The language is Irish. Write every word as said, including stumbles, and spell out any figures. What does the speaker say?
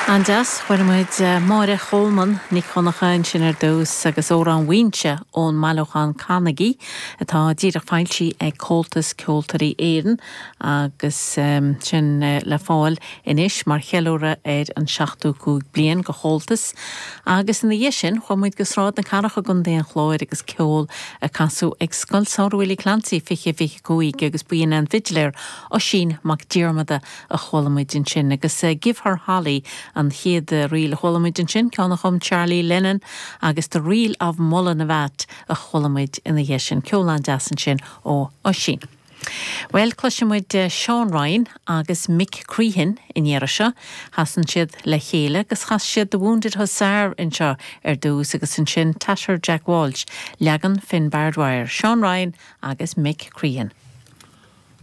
An-deas chuala muid Máire Cholmáin Nic Dhonncha ansin ar dtús agus Amhrán Mhaínse ón mbailiúchán Canaigí atá díreach foilsithe ag Comhaltas Ceoltóirí Éireann agus um, sin uh, le fáil anois mar cheiliúradh ar an seachtó cúig bliain de Chomhaltas. Agus ina dhiaidh sin chuaigh muid go Sráid na Cathrach i gContae an Chláir agus ceol a casadh ag Scoil Samhraidh Willie Clancy fiche fiche cúig agus b'in an fidléir Oisín Mac Diarmada a chuala muid ansin agus uh, Give Her Holly an chéad ríl a chuala muid ansin ceann a chum Charlie Lennon agus The Reel of Mullinavat a chuala muid ina dhiaidh sin ceol an-deas ansin ó Oisín. Well cloisfimid Seán Ryan agus Mick Crehan in seo, Chasann siad le chéile agus chas siad The Wounded Hussar anseo ar dtús agus ansin Tatter Jack Walsh leagan Finn Bardwire, Seán Ryan agus Mick Crehan.